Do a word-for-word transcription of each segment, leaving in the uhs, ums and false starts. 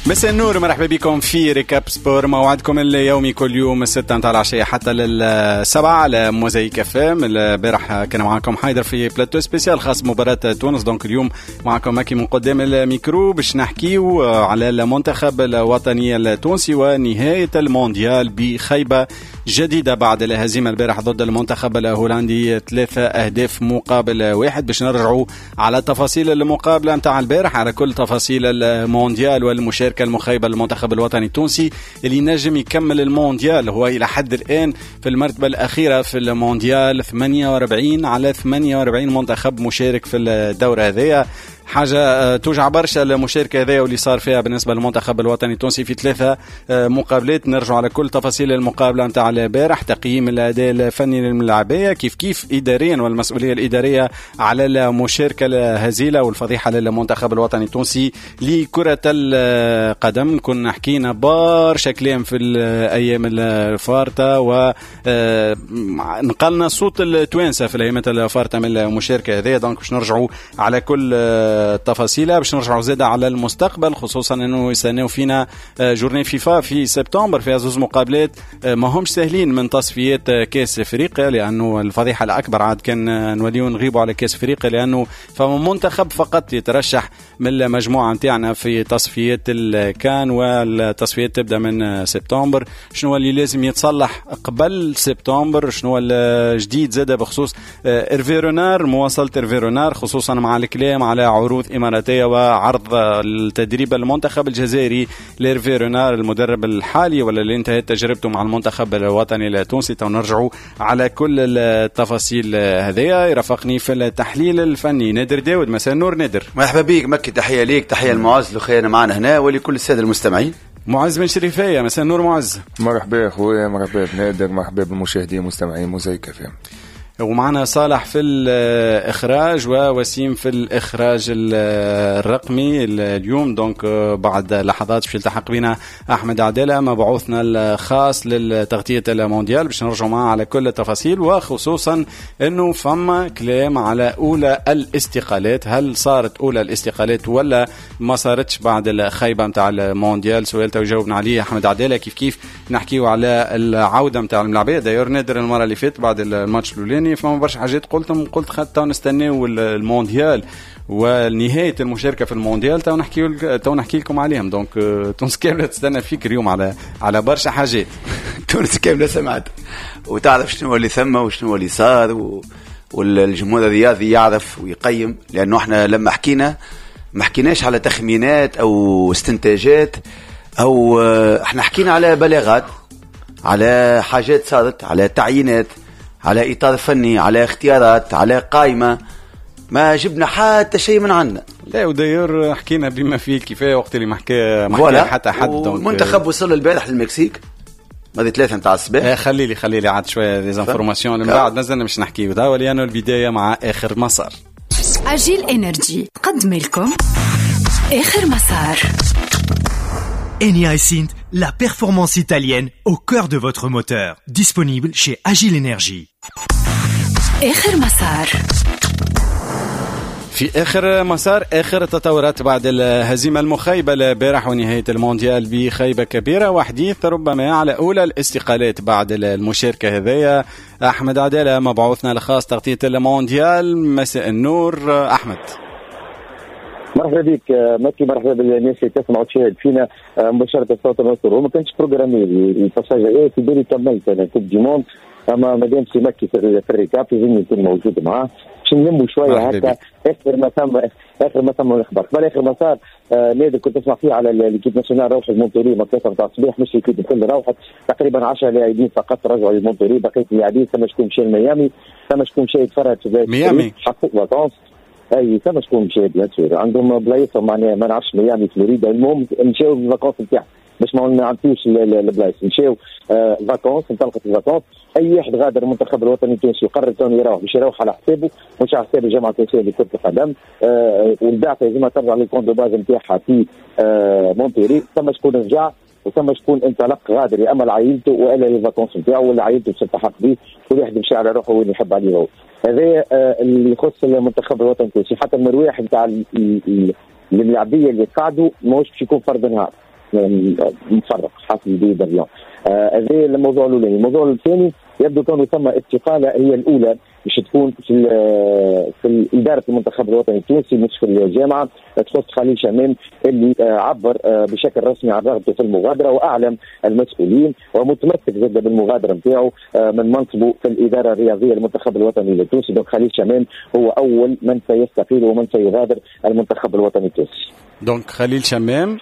مساء النور، مرحبا بكم في Récap Sport، موعدكم اليومي كل يوم الستة متاع العشية حتى للسبعة على موزايك اف ام. البارح كان معكم حيدر في plateau spécial خاص مباراة تونس، donc اليوم معكم ماكي من قدام الميكرو باش نحكيو على المنتخب الوطني التونسي ونهاية المونديال بخيبة جديدة بعد الهزيمة البارح ضد المنتخب الهولندي ثلاثة أهداف مقابل واحد. باش نرجعوا على تفاصيل المقابلة متاع البارح، على كل تفاصيل المونديال والمشاركة المخيبة للمنتخب الوطني التونسي اللي نجم يكمل المونديال، هو إلى حد الآن في المرتبة الأخيرة في المونديال، ثمانية وأربعين على ثمانية وأربعين منتخب مشارك في الدورة هذية. حاجة توجع برشا المشاركة هذيا واللي صار فيها بالنسبة للمنتخب الوطني التونسي في ثلاثة مقابلات. نرجع على كل تفاصيل المقابلة نتاع البارح، تقييم الأداء الفني للملاعبية كيف كيف إداريا والمسؤولية الإدارية على المشاركة الهزيلة والفضيحة للمنتخب الوطني التونسي لكرة القدم. كنا حكينا برشا كلام في الأيام الفارطة ونقلنا صوت التوانسة في الأيام الفارطة من المشاركة هذيا، donc باش نرجعوا على كل تفاصيلها، باش نرجعوا زادة على المستقبل، خصوصا انه يستناو فينا journée فيفا في سبتمبر فيها زوز مقابلات ما همش سهلين من تصفيات كاس افريقيا، لانه الفضيحة الاكبر عاد كان نوليو نغيبوا على كاس افريقيا، لانه فما منتخب فقط يترشح من المجموعة نتاعنا في تصفيات الكان، والتصفيات تبدا من سبتمبر. شنو اللي لازم يتصلح قبل سبتمبر؟ شنو الجديد زادة بخصوص إرفي رونار، مواصلة إرفي رونار، خصوصا مع الكلام على عروض إماراتية وعرض التدريب المنتخب الجزائري لإرفي رونار المدرب الحالي ولا اللي انتهت تجربته مع المنتخب الوطني التونسي. نرجعوا على كل التفاصيل هذيا. يرافقني في التحليل الفني نادر داود. مساء النور نادر. مرحبا بك مكي، تحية ليك، تحية لمعز لخينا معنا هنا ولكل السادة المستمعين. معز بن شريفية، مساء النور معز. مرحبا خويا، مرحبا بنادر، مرحبا بالمشاهدين المستمعين موزايك اف ام. ومعنا صالح في الإخراج ووسيم في الإخراج الرقمي اليوم. donc بعد لحظات باش يلتحق بنا أحمد عدالة مبعوثنا الخاص للتغطية المونديال باش نرجع معه على كل التفاصيل، وخصوصا أنه فما كلام على أولى الاستقالات، هل صارت أولى الاستقالات ولا ما صارتش بعد الخيبة متاع المونديال؟ سؤال تجاوبنا عليه أحمد عدالة. كيف كيف نحكيو على العودة متاع الملاعبية. d'ailleurs نادر المرة اللي فاتت بعد الماتش الأولاني فما برشا حاجات قلتهم، قلت خاطر نستناو المونديال ونهاية المشاركة في المونديال تو نحكي تو نحكي لكم عليهم. donc تونس كاملة تستنى فيك اليوم على على برشا حاجات. تونس كاملة سمعت وتعرف شنو اللي ثم وشنو اللي صار و... والجمهور الرياضي يعرف ويقيم، لانه احنا لما حكينا ما حكيناش على تخمينات او استنتاجات، او احنا حكينا على بلاغات، على حاجات صارت، على تعيينات، على إطار فني، على اختيارات، على قائمة. ما جبنا حتى شيء من عندنا. لا و d'ailleurs حكينا بما فيه الكفاية وقت اللي ما حكى ما حكى حتى حد. المنتخب وصل البارح للمكسيك ماضي ثلاثة نتاع الصباح. خلي لي خلي لي عاد شوية des informations من بعد مازلنا باش نحكيو توا، لأنه البداية مع آخر مسار. أجيل إنرجي تقدم لكم آخر مسار. Eni iSynth, la performance italienne au cœur de votre moteur. Disponible chez Agile Energy. آخر مسار. في آخر مسار آخر التطورات بعد الهزيمة المخيبة البارح ونهاية المونديال بخيبة كبيرة، وحديث ربما على أولى الاستقالات بعد المشاركة هذيا. أحمد عدالة مبعوثنا الخاص تغطية المونديال. مساء النور أحمد. مرحبا بك مكي، مرحبا بالناس اللي تسمع وتشاهد فينا مباشرة الصوت النصر. وما كانش programmé ال passage هذا في بالي، كملت انا Coupe du Monde، اما مادام سي مكي في ال récap لازم يكون موجود معاه باش نلموا شوية هكا اخر ما ثم اخر ما ثم الاخبار. قبل اخر ما صار آه نادر كنت تسمع فيه على l'équipe nationale روحت مونتوري ما ثلاثة نتاع الصباح، مش l'équipe الكل روحت، تقريبا عشرة لاعبين فقط رجعوا لمونتوري، بقية اللاعبين ثم شكون مشى لميامي، ثم شكون مشى يتفرج في ميامي حقق vacances، اي ثم شكون مشى bien sûr عندهم بلايصهم معناها ما نعرفش ميامي فلوريدا، المهم مشاو ال vacances نتاعهم باش ما نعطيوش البلايص، مشاو vacances، انطلقت ال vacances. اي واحد غادر المنتخب الوطني التونسي وقرر كونه يروح باش يروح على حسابه مش على حساب الجامعة التونسية لكرة القدم، آه والبعثه لازم ترجع لل camp de base نتاعها في آه مونتيري. ثم شكون رجع وثم شكون انطلق غادر، يا اما لعائلته والا لل vacances نتاعو ولا عائلته باش تلتحق به، كل واحد يمشي على روحه وين يحب عليه هو. هذا اللي يخص المنتخب الوطني التونسي. حتى المرواح نتاع الملاعبيه اللي قعدوا ماهوش باش يكون فرد نهار، مفرق حاصل billet d'avion. هذا الموضوع الاولاني. الموضوع الثاني يبدو كونه ثم استقالة هي الاولى باش تكون في في ادارة المنتخب الوطني التونسي مش في الجامعة، تخص خليل شمام اللي عبر بشكل رسمي عن رغبته في المغادرة واعلم المسؤولين ومتمسك جدا بالمغادره نتاعو من منصبه في الادارة الرياضية للمنتخب الوطني التونسي. donc خليل شمام هو اول من سيستقيل ومن سيغادر المنتخب الوطني التونسي. donc خليل شمام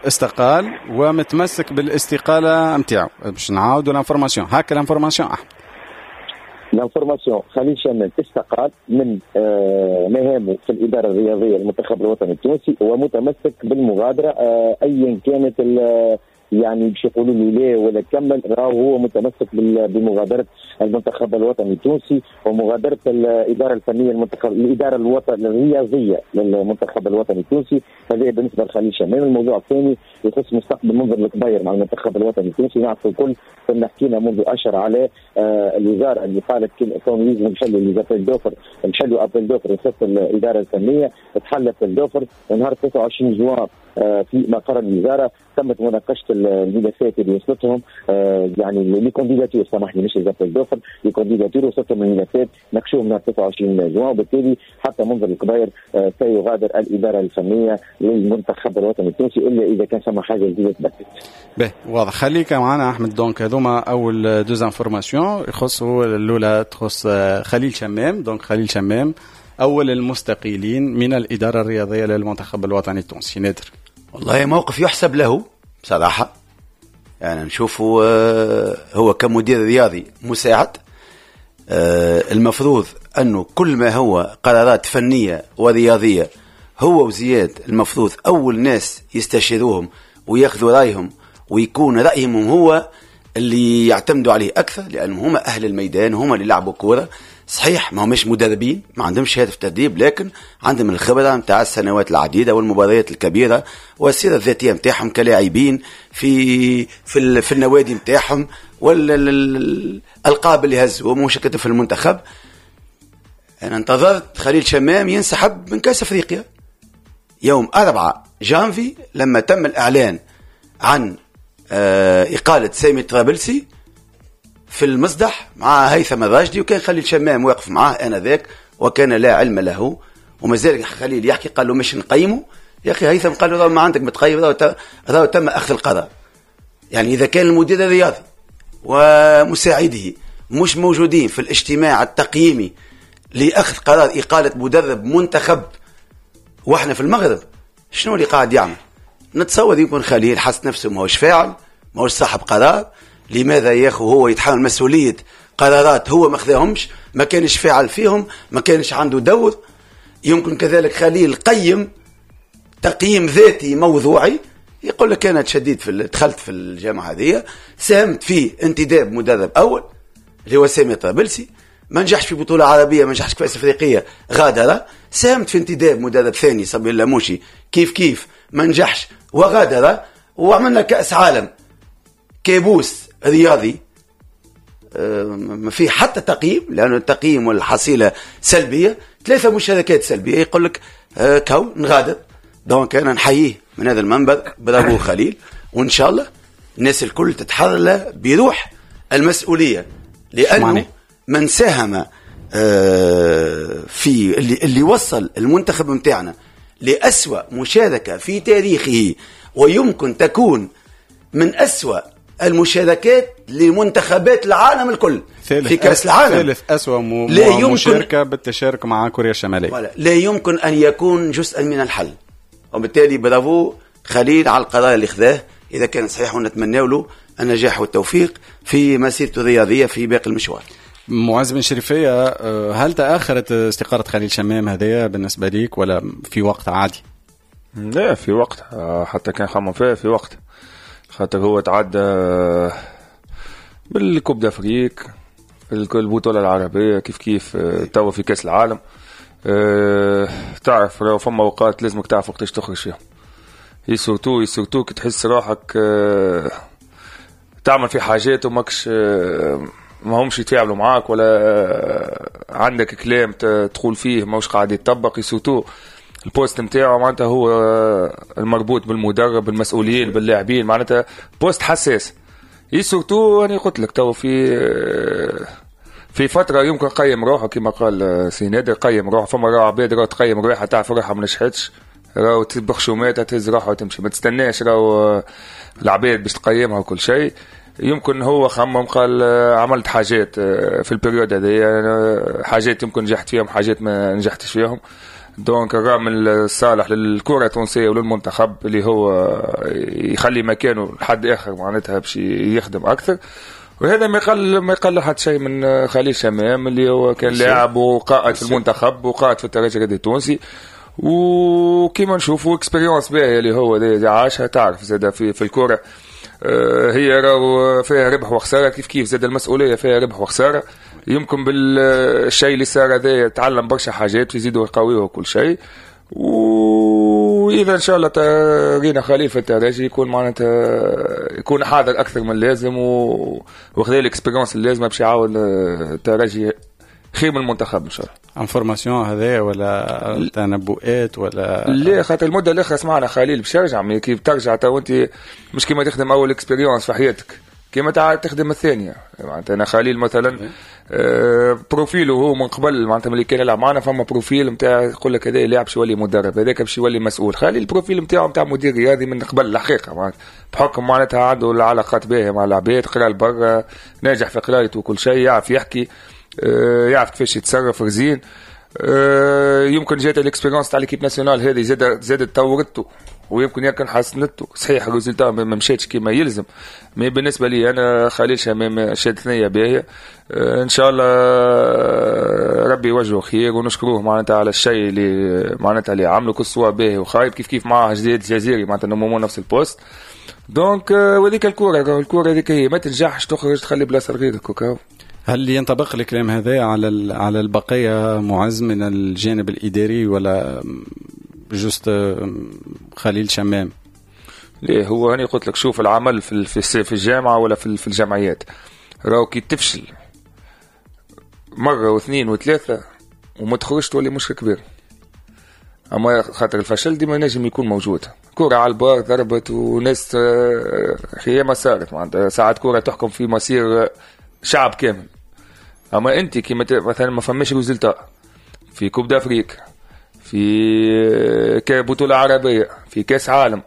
استقال ومتمسك بالاستقاله نتاعو. باش نعاودوا l'information، هكا l'information احمد. l'information خليل شمام استقال من مهامه في الادارة الرياضية للمنتخب الوطني التونسي ومتمسك بالمغادره ايا كانت، يعني باش يقولوا له لا ولا كمل، راهو هو متمسك بمغادرة المنتخب الوطني التونسي ومغادره الادارة الفنية المنتخب الادارة الوطنية الرياضية للمنتخب الوطني التونسي. هذا بالنسبة لخليل شمام. الموضوع الثاني يخص مستقبل منذر الكبير مع المنتخب الوطني التونسي. نعرف الكل كنا حكينا منذ اشهر على آه الوزارة اللي قالت كون لازم نحلوا les appels d'offres، نحلوا appel d'offres يخص الادارة الفنية. تحل appel d'offres ونهار تسعة وعشرين جوان في مقر الوزارة تمت مناقشة الملفات اللي وصلتهم، آه يعني les candidatures، سامحني مش les appels d'offres، les candidatures وصلتهم الملفات ناقشوهم نهار تسعة وعشرين جوان، وبالتالي حتى منذر الكبير آه سيغادر الادارة الفنية للمنتخب الوطني التونسي الا اذا كان ثم حاجة جديدة تبدلت. باهي واضح، خليك معنا احمد. donc هذوما اول deux informations يخصوا، الاولى تخص خليل شمام. donc خليل شمام اول المستقيلين من الادارة الرياضية للمنتخب الوطني التونسي. نادر، والله موقف يحسب له بصراحة، يعني نشوفه هو كمدير رياضي مساعد، المفروض أنه كل ما هو قرارات فنية ورياضية هو وزياد المفروض أول ناس يستشيروهم وياخذوا رأيهم ويكون رأيهم هو اللي يعتمدوا عليه أكثر، لأنهم هم أهل الميدان، هم اللي لعبوا كورة. صحيح ما همش مدربين، ما عندهمش شهادة في التدريب، لكن عندهم الخبرة نتاع السنوات العديدة والمباريات الكبيرة والسيرة الذاتية نتاعهم كلاعبين في في في النوادي نتاعهم والالقاب اللي هزوا ومشاركته في المنتخب. انا انتظرت خليل شمام ينسحب من كاس افريقيا يوم أربعة جانفي لما تم الاعلان عن اقاله سامي الطرابلسي في المصدح مع هيثم الراشدي، وكان خليل شمام واقف معاه انذاك وكان لا علم له، ومازال خليل يحكي قال له مش نقيمه يا اخي. هيثم قال له ما عندك متقيم، راهو تم اخذ القرار. يعني اذا كان المدير الرياضي ومساعدة مش موجودين في الاجتماع التقييمي لاخذ قرار اقاله مدرب منتخب واحنا في المغرب، شنو اللي قاعد يعمل؟ نتصور يكون خليل حس نفسه ماهوش فاعل، ماهوش صاحب قرار. لماذا ياخو هو يتحمل مسؤولية قرارات هو ما خذاهمش، ما كانش فاعل فيهم، ما كانش عنده دور؟ يمكن كذلك خليل قيم تقييم ذاتي موضوعي، يقول لك أنا تشديد في دخلت في الجامعة هذه، ساهمت في انتداب مدرب أول اللي هو سامي طرابلسي، ما نجحش في بطولة عربية، ما نجحش في كأس أفريقية، غادر. ساهمت في انتداب مدرب ثاني صبي اللاموشي، كيف كيف ما نجحش وغادر، وعملنا كأس عالم كابوس رياضي ما في حتى تقييم، لأنه التقييم والحصيلة سلبية، ثلاثة مشاركات سلبية، يقول لك كو نغادر. donc أنا نحييه من هذا المنبر، برافو خليل، وإن شاء الله الناس الكل تتحرر بروح المسؤولية، لأنه من ساهم في اللي, اللي وصل المنتخب متاعنا لأسوأ مشاركة في تاريخه، ويمكن تكون من أسوأ المشاركات لمنتخبات العالم الكل في كأس العالم، ثالث أسوأ م... مشاركة بالتشارك مع كوريا الشمالية، لا يمكن أن يكون جزءا من الحل. وبالتالي برافو خليل على القرار اللي خذاه إذا كان صحيح، ونتمنى له النجاح والتوفيق في مسيرته الرياضية في باقي المشوار. معز بن شريفية، هل تأخرت استقالة خليل شمام هذايا بالنسبة ليك ولا في وقت عادي؟ لا في وقت، حتى كان خمم فيها في وقت، خاطر هو تعدى بال Coupe d'Afrique، البطولة العربية، كيف كيف توا في كأس العالم. تعرف لو فما اوقات لازمك تعرف وقتاش تخرج فيها، surtout surtout كي تحس روحك تعمل في حاجات وماكش ما همش يتفاعلوا معاك، ولا عندك كلام تقول فيه ماهوش قاعد يتطبق. surtout ال poste نتاعو معناتها هو المربوط بالمدرب، بالمسؤولين، باللاعبين، معناتها poste حساس. et surtout انا قلت لك تو في في فترة يمكن قيم روحه كما قال سي نادر، قيم روحه. فما راهو عباد راهو تقيم روحها، تعرف روحها ما نجحتش، راهو بخشوماتها تهز روحها وتمشي، ما تستناش راهو العباد باش تقيمها وكل شيء. يمكن هو خمم قال عملت حاجات في ال période هذه، حاجات يمكن نجحت فيهم، حاجات ما نجحتش فيهم. donc الرغم الصالح للكرة التونسية وللمنتخب اللي هو يخلي مكانه لحد اخر معناتها باش يخدم اكثر. وهذا ما يقل ما يقل حتى شيء من خليل شمام اللي هو كان لاعب وقائد في المنتخب وقائد في الترجي الرياضي التونسي، وكيما نشوفوا expérience باهيه اللي هو عاشها. تعرف زاد في في الكره هي راهو فيها ربح وخسارة، كيف كيف زاد المسؤولية فيها ربح وخسارة. يمكن بالشيء اللي صار هذا تعلم برشا حاجات يزيدوا يقويه وكل شيء. واذا ان شاء الله رينا خليل في الترجي يكون معناتها يكون حاضر اكثر من اللازم و... وخذا ال expérience اللازمة باش يعاون الترجي خير من المنتخب ان شاء الله. information هذا ولا تنبؤات ولا لا؟ خاطر المدة الاخرى سمعنا خليل باش يرجع. كيف ترجع تو انت مش كيما تخدم اول expérience في حياتك كيما تخدم الثانية. معناتها انا خليل مثلا آه profil ه هو من قبل معناتها ملي كان يلعب معنا فما profil نتاع يقول لك هذا لاعب باش يولي مدرب، هذاك باش يولي مسؤول. خليل ال profil نتاعو نتاع مدير رياضي من قبل الحقيقة، معناتها بحكم معناتها عنده العلاقات باهيه مع العباد، قرا لبرا، ناجح في قرايته وكل شيء، يعرف يحكي، آه يعرف كيفاش يتصرف رزين. آه يمكن جات ال expérience تاع l'équipe nationale هذه زادت زادت طورته ويمكن يمكن حسنته. صحيح ال résultat ما مشاتش كما يلزم، mais بالنسبة لي انا خليل شمام شاد ثنيه باهيه. آه ان شاء الله ربي يوجهه خير ونشكروه معناتها على الشيء اللي معناتها اللي عمله، que ce soit باهي وخايب كيف كيف معاه جديد الجزيري معناتها normalement نفس ال poste. donc وهذيك الكورة الكورة هذيك هي، ما تنجحش تخرج تخلي بلاصة لغيرك وكاو. هل ينطبق الكلام هذا على على البقية معز من الجانب الاداري ولا juste خليل شمام؟ ليه هو هاني قلت لك شوف العمل في في في الجامعة ولا في في الجمعيات راهو كي تفشل مرة واثنين وثلاثة وما تخرجش تولي مشكل كبير. اما خاطر الفشل ديما نجم يكون موجود. كرة على البار ضربت وناس خيامة صارت معناتها ساعات كرة تحكم في مصير شعب كامل. اما انت كي مثلا ما فماش résultat في Coupe d'Afrique، في بطولة عربية، في كاس عالم،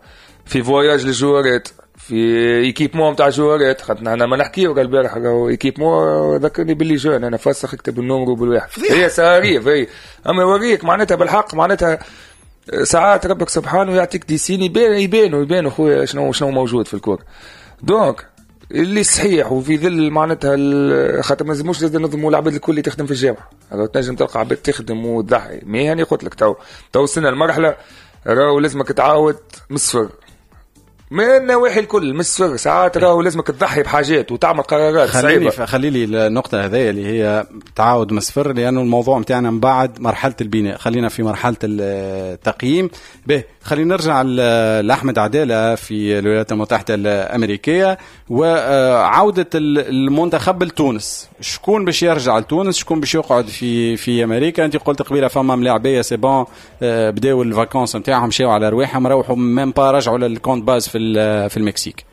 في voyage للجوارات، في équipement تاع جوارات، خاطر احنا ما نحكيو البارح équipement ذكرني باللي jeune انا فسخ اكتب ال numéro بالواحد هي ساريف هي. اما يوريك معناتها بالحق معناتها ساعات ربك سبحانه يعطيك des signes يبان يبانوا يبانوا خويا شنو شنو موجود في الكورة. donc اللي صحيح وفي ظل معناتها خاطر ما لازموش لازم نظموا العباد الكل اللي تخدم في الجامعة، تنجم تلقى عباد تخدم وتضحي. mais هاني قلت لك تو تو وصلنا لمرحلة راهو لازمك تعاود من الصفر من النواحي الكل من الصفر. ساعات راهو لازمك تضحي بحاجات وتعمل قرارات صعيبة. خلي لي النقطة هذه اللي هي تعاود من الصفر، لانه الموضوع نتاعنا من بعد مرحلة البناء، خلينا في مرحلة التقييم. به خلينا نرجع لاحمد عدالة في الولايات المتحدة الامريكية وعوده المنتخب لتونس. شكون باش يرجع لتونس، شكون باش يقعد في في امريكا؟ انت قلت قبيلة فما ملاعبيه c'est bon بداو ال vacances نتاعهم، مشاو على رواحهم، روحوا même pas رجعوا لل camp de base في في المكسيك.